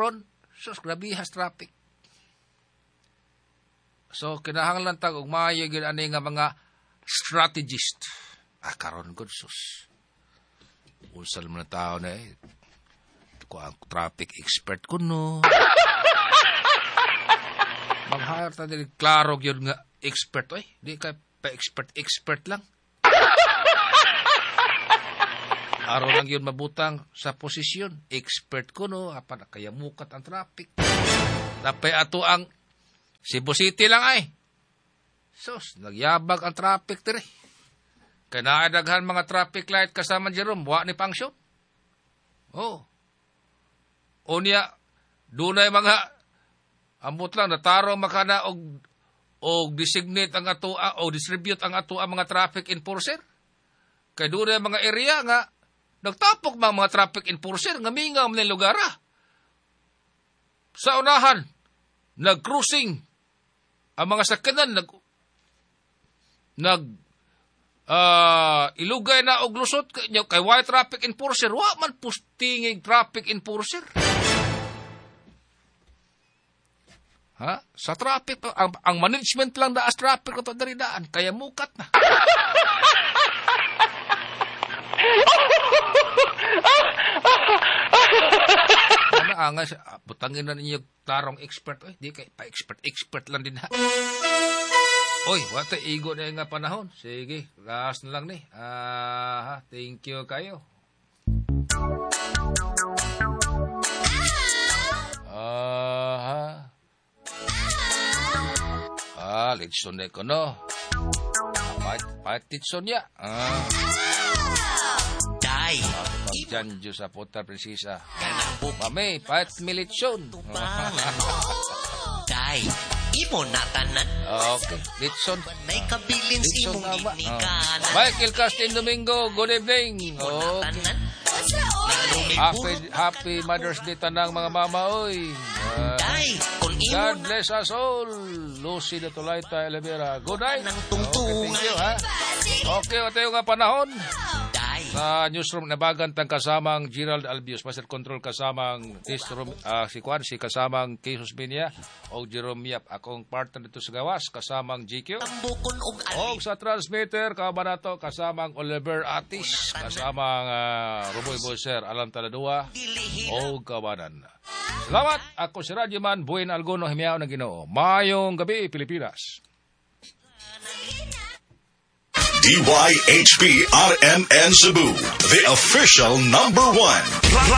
Karon, sus, grabihas traffic. So kinahanglan tag og maayo gyud ani nga mga strategist. Ah, karon gud, sus. Unsa man ang tao na eh. Ko ang traffic expert kuno. Mag-hire ta dili klaro gyud nga expert oy. Di kay pa expert expert lang. Aron lang yun mabutang sa posisyon. Expert kuno, apan kaya mukat ang traffic. Napay ato ang Cebu City lang ay. Sus, nagyabag ang traffic diri. Kay naay daghan mga traffic light kasama Jerome, wa ni function. Oh. Unya, dunay mga ambot lang nataro makana og designate ang atoa o distribute ang atoa mga traffic enforcer. Kay dunay mga area nga nagtapok mga traffic enforcer nga mingaw man lugar. Sa unahan, nag-cruising ang mga sakyanan nag ilugay na og lusot kay why traffic enforcer, wa man pustingig traffic enforcer. Ha? Sa traffic ang management lang daas traffic ato diri daan kaya mukat na. Ano nga butangin na ninyo tarong expert oy, di kay pa expert expert lang din ha. Oy, wata igo na nga panahon. Sige, last na lang ni. Ah, thank you kayo. Aha. Ah, litson na ko no. Pait litson niya. Ah. Day. Pagjanjo sa puta prinsesa. Mami, pait militson. Day. Imo na tanan. Okay, litson. May kabilin Litson imong na ba? ginikanan. Michael Castin Domingo, good evening. Okay. Tanan. Happy happy Mother's Day tanang mga mama oy. Day, kung imo God bless us all. Lucy de Tulayta Elevera. Good night. Okay, thank you ha. Okay, tayo nga panahon. Day. Sa newsroom nabagan tang kasamang Gerald Albius, Master Control kasamang si Kwan, si kasamang Jesus Binya o Jerome Yap, akong partner dito sa gawas kasamang GQ. Tambukon og O sa transmitter kabanato kasamang Oliver Atis, kasamang Ruboy Boyser, Alan Taladua o kabanan. Salamat. Ako si Radyo Man, Buin Algono, Himiao ng Ginoo. Mayong gabi, Pilipinas. DYHP RMN Cebu, the official number one.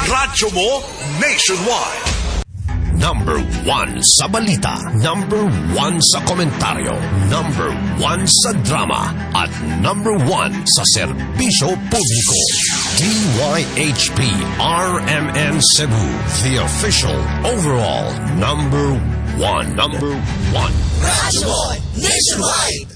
Radyo mo nationwide. Number 1 sa balita, number 1 sa komentaryo, number 1 sa drama, at number 1 sa serbisyo publiko. DYHP RMN Cebu, the official overall number 1. Number 1. Radyo mo nationwide.